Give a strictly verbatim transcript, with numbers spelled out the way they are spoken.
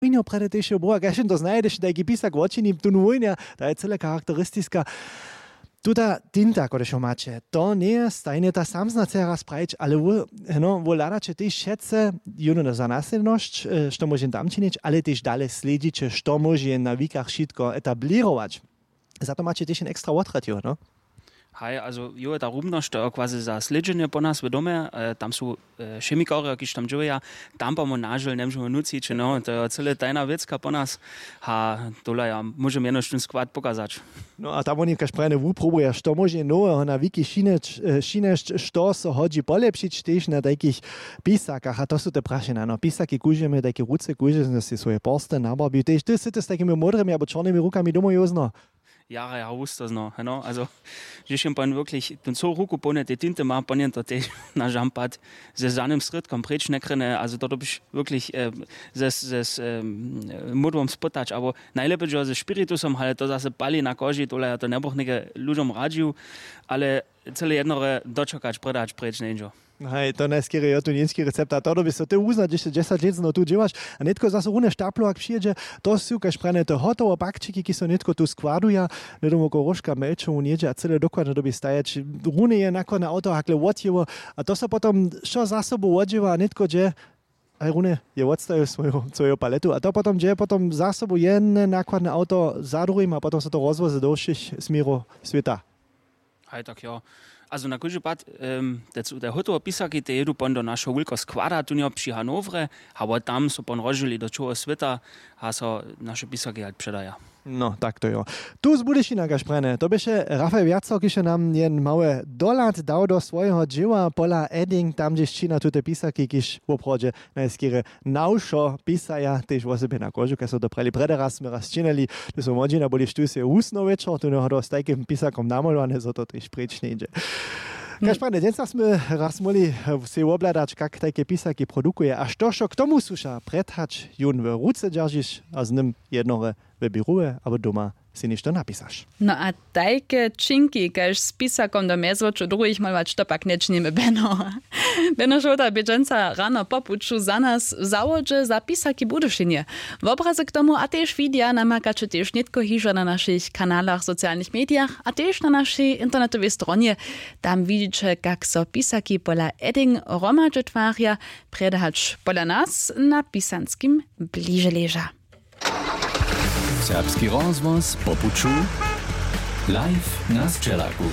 wójnjo prjedy tež je boha kaž to znaje, hdyž tajki pisak wočini tón wójnja, ta je cyle charakteristiska. Tuta tinta kodež jo maće, to njeje stajnje ta samsna chce raz prajić, ale wó heno wó hladaće tež wšetce jónu za naslědnosć, što móže jen tam činić, ale tež dale slědźiće što móže jen na wikach wšitko etablěrować. Za to maće tež jen ekstra wotrjad jónu. Haj, also jo je ta rumnosć to je quasi za slědźenje po nas w domje, tam su chemikarjo kiž tam dźěłeja, tam pamo nažel njemóžemy nucić, no to je cyle tajna wěcka po nas. A tola ja móžem jenož ten skład pokazać. No a tam woni kaž prajene wuprobuja što móže noweho na wiki šinjeć, što so hodźi polepšić tež na tajkich pisakach a to su te prašenja no pisaki kužemy tajke ruce kužemy sej swoje porsty nabarbił tež ty sy ty z tajkimi módrymi abo čornymi rukami domoł józno. Jara jara wustozno heno also, hdźež jen pon wirklich tón cołu ruku połnje tej tinty ma pon jen to tež na žampad ze zanym srědkom preč njekrjene also to dobiš wirklich ze z módłom spytać abo najlěpje dźo ze spiritusom ale to zase pali na koži tole ja to njebych něke ludźom radźił, ale cyle jednore dočakać prědać preč njeńdźo. Haj to najskerje jo tu němski recept a to dobi so ty wuznać hišće dźesać lět zno tu dźěłaš. A nětko zaso runje štaplow ak přijědźe, to su kaž prajene te hotowe pakćiki kiž so nětko tu składuja. Hnydom woko róžka mjelčowu nědźe a cyle dokładnje dobi stajeć. Runje je nakładne awto hakle wotjěło, a to so potom wšo za sobu wodźěła a nětko dźe haj runje je wotstajił swoju swoju paletu a to potom dźe potom za sobu jedne nakładne awto za druhim a potom so to rozwozy do wšěch směrow swěta. Haj tak jo. Also na kóždy pad te hotowe pisaki te jědu pon do našeho wulkeho składa tunjo při hanowrje, abo tam so pon rozžěli do čołho swěta a so naše pisaki halt předaja. No tak to jo. Tu z budyšina kaž prajene to běše rafaj wjaco kiž je nam jen małe dohlad dał do swojeho dźěła pola edding tam hdźež čina tute pisaki kiž woprawdźe najskerje na wšo pisaja tež wosebje na kožu kaž so to prali prjedy raz smy raz činili. Ty so młodźina budyš tu sej wusno wječor tu njehodo z tajkim pisakom namolowane zo to tež preč njeńdźe. Kaž prajene dźensa smy raz móhli sej wobhladać kak tajke pisaki produkuje a što wšo k tomu słuša prjedhać jón w ruce dźeržiš a z nym jednore w běrowje abo doma sej něšto napisaš. No a tajke činki kaž z pisakom do mjezwočow druhich molować to pak nječinimy beno. Beno žołta bě dźensa rano po puću za nas w zawodźe za pisaki w budyšinje. Wobrazy k tomu a tež widja namakaće tež nětko hižo na našich kanalach w socialnych medijach a tež na našej internetowej stronje. Tam widźiće kak so pisaki pola edding hromadźe twarja, prjedać pola nas na pisanskim bliže leža. Serbski rozhłos po puću live na sćelaku.